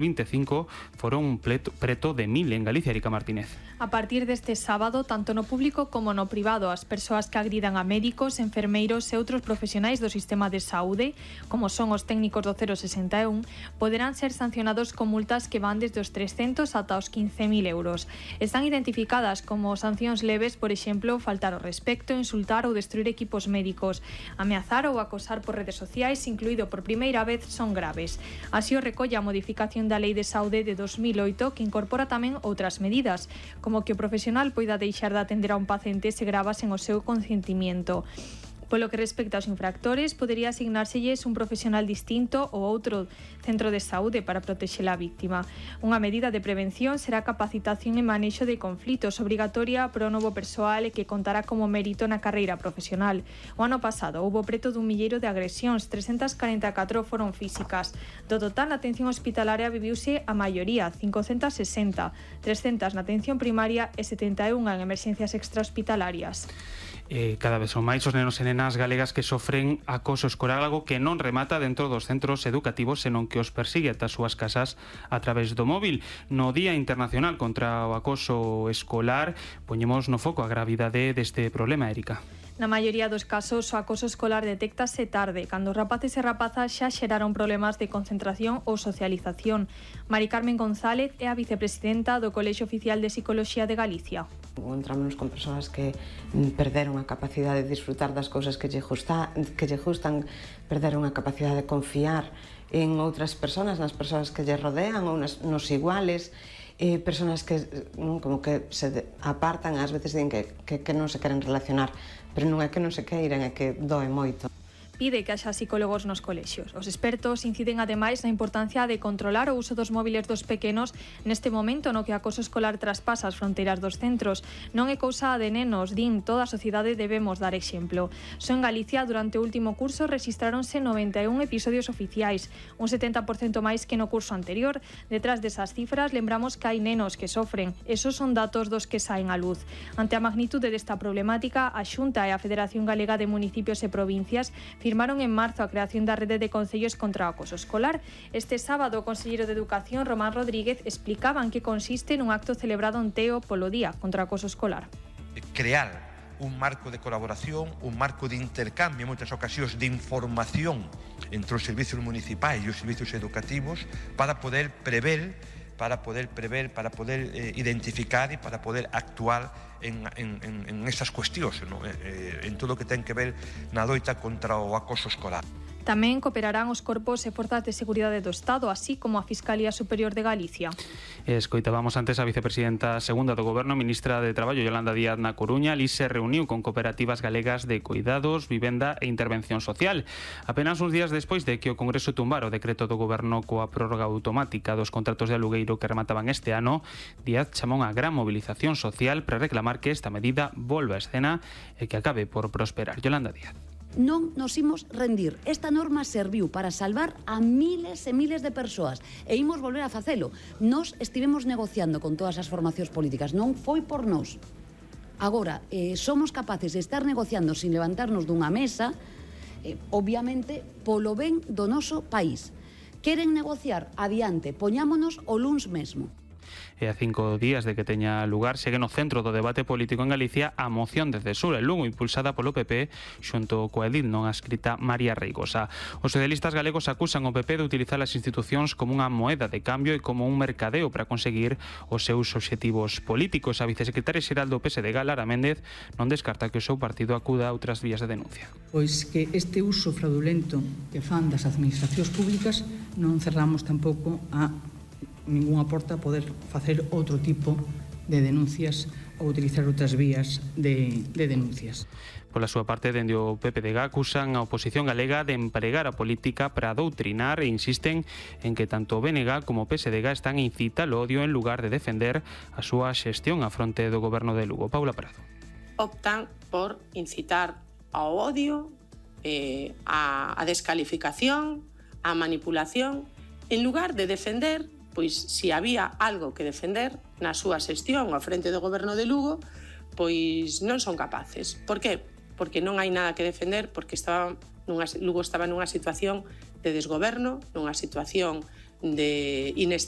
25 foron preto de 1000 en Galicia. Erika Martínez. A partir deste sábado, tanto no público como no privado, as persoas que agridan a médicos, enfermeiros e outros profesionais do sistema de saúde, como son os técnicos do 061, poderán ser sancionados con multas que van desde os 300 ata os 15.000 euros. Están identificadas como sancións leves, por exemplo, faltar ao respecto, insultar ou destruir equipos médicos. Ameazar ou acosar por redes sociais, incluído por primeira vez, son graves. Así o recolle a modificación da Lei de Saúde de 2008, que incorpora tamén outras medidas, como que o profesional poida deixar de atender a un paciente se grava sen o seu consentimiento. Polo que respecta aos infractores, podería asignárselles un profesional distinto ou outro centro de saúde para protexer a víctima. Unha medida de prevención será a capacitación e manexo de conflitos obrigatoria para o novo persoal e que contará como mérito na carreira profesional. O ano pasado houbo preto dun milleiro de agresións, 344 foron físicas. Do total, na atención hospitalaria viviuse a maioría, 560, 300 na atención primaria e 71 en emerxencias extrahospitalarias. Cada vez son máis os nenos e nenas galegas que sofren acoso escolar, algo que non remata dentro dos centros educativos, senón que os persigue ata as súas casas a través do móvil. No Día Internacional contra o Acoso Escolar poñemos no foco a gravidade deste problema, Erika. Na maioría dos casos, o acoso escolar detéctase tarde, cando os rapaces e rapazas xa xeraron problemas de concentración ou socialización. Mari Carmen González é a vicepresidenta do Colexio Oficial de Psicoloxía de Galicia. Encontramos con persoas que perderon a capacidade de disfrutar das cousas que lle gustan, perderon a capacidade de confiar en outras persoas, nas persoas que lle rodean ou nos iguales, persoas que como que se apartan, ás veces din que non se queren relacionar, pero non é que non se queiran, é que doe moito. Pide que haxa psicólogos nos colexios. Os expertos inciden ademais na importancia de controlar o uso dos móviles dos pequenos neste momento no que o acoso escolar traspasa as fronteiras dos centros. Non é cousa de nenos, din, toda a sociedade debemos dar exemplo. Só en Galicia, durante o último curso, rexistráronse 91 episodios oficiais, un 70% máis que no curso anterior. Detrás desas cifras, lembramos que hai nenos que sofren. Esos son datos dos que saen á luz. Ante a magnitude desta problemática, a Xunta e a Federación Galega de Municipios e Provincias firmaron en marzo a creación da rede de concellos contra o acoso escolar. Este sábado, o conselleiro de Educación, Román Rodríguez, explicaba en que consiste nun acto celebrado en Teo polo Día contra o acoso escolar. Crear un marco de colaboración, un marco de intercambio, en moitas ocasións de información entre os servizos municipais e os servizos educativos para poder prever, para poder identificar e para poder actuar en esas cuestións, ¿no? En todo o que ten que ver na loita contra o acoso escolar. Tamén cooperarán os corpos e forzas de seguridade do Estado, así como a Fiscalía Superior de Galicia. Escoitábamos antes a vicepresidenta segunda do Goberno, ministra de Traballo, Yolanda Díaz, na Coruña. Ali se reuniu con cooperativas galegas de cuidados, vivenda e intervención social. Apenas uns días despois de que o Congreso tumbara o decreto do Goberno coa prórroga automática dos contratos de alugueiro que remataban este ano, Díaz chamou a gran movilización social para reclamar que esta medida volva a escena e que acabe por prosperar. Yolanda Díaz. Non nos imos rendir. Esta norma serviu para salvar a miles e miles de persoas e imos volver a facelo. Nos estivemos negociando con todas as formacións políticas, non foi por nós. Agora, somos capaces de estar negociando sin levantarnos dunha mesa, obviamente, polo ben do noso país. Queren negociar? Adiante, poñámonos o luns mesmo. E a 5 días de que teña lugar, segue no centro do debate político en Galicia a moción de censura en Lugo impulsada polo PP xunto coa edil non adscrita María Reigosa. Os socialistas galegos acusan o PP de utilizar as institucións como unha moeda de cambio e como un mercadeo para conseguir os seus obxectivos políticos. A vicesecretaria xeral do PSD, Lara Méndez, non descarta que o seu partido acuda a outras vías de denuncia. Pois que este uso fraudulento que fan das administracións públicas non cerramos tampouco a ningunha porta a poder facer outro tipo de denuncias ou utilizar outras vías de denuncias. Pola súa parte, dende o PPDG acusan a oposición galega de empregar a política para doutrinar e insisten en que tanto o BNG como o PSDG están a incitar o odio en lugar de defender a súa xestión á fronte do goberno de Lugo. Paula Prado. Optan por incitar ao odio, a descalificación, a manipulación, en lugar de defender. Pois se había algo que defender na súa xestión ao frente do goberno de Lugo, pois non son capaces. Por que? Porque non hai nada que defender, porque Lugo estaba nunha situación de desgoberno, nunha situación de inestabilidade.